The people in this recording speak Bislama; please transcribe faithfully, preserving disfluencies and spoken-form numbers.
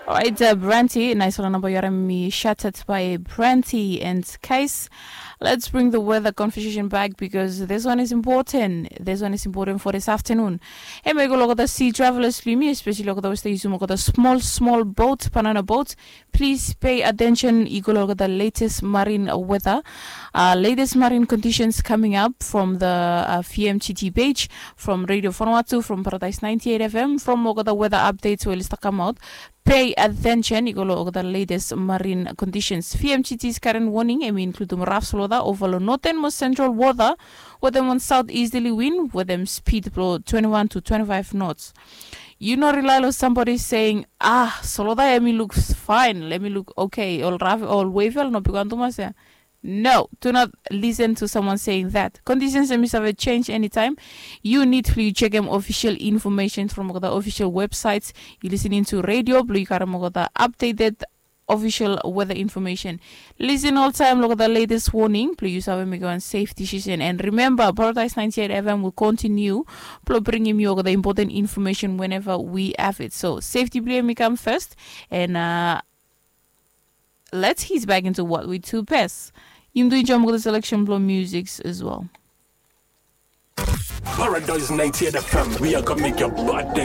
Orait, Branti, nais wan namba yu harim mi shatat by Branti and Kais. Let's bring the weather conversation back because this one is important. This one is important for this afternoon. Hemia i go long olgeta sea travelers blong yumi, especially olgeta we stap yusum olgeta small small boat, banana boat. Please pay attention, i go long olgeta latest marine weather, uh, latest marine conditions coming up from the uh, V M G T page, from Radio Vanuatu, from Paradise ninety-eight F M, from olgeta weather updates we oli stap kamaot. Pay attention, i go long olgeta latest marine conditions. V M G T's current warning hemi inkludum raf solwota ova long northern mo central wota wetem wan southeasterly wind wetem speed blong twenty-one to twenty-five knots. Yu no rely long somebody saying, ah, solwota hemi luk fine, hemi luk okay, ol raf, ol wave ya oli no bigwan tumas ya. No, do not listen to someone saying that. Conditions hemi save change anytime. Yu nid blong yu jekem official information from olgeta official websites. Yu listening to radio blong yu karim olgeta updated official weather information. Listen oltaem long olgeta latest warning blong yu save mekem wan safe decision. And remember, Paradise ninety-eight F M will continue blong bringim yu olgeta important information whenever we have it. So safety blong yumi kam first. And uh, let's ease back into what we do best. Yumi do enjoy olgeta selection blong musics as well. Paradise ninety-eight F M, we are gonna make your bad day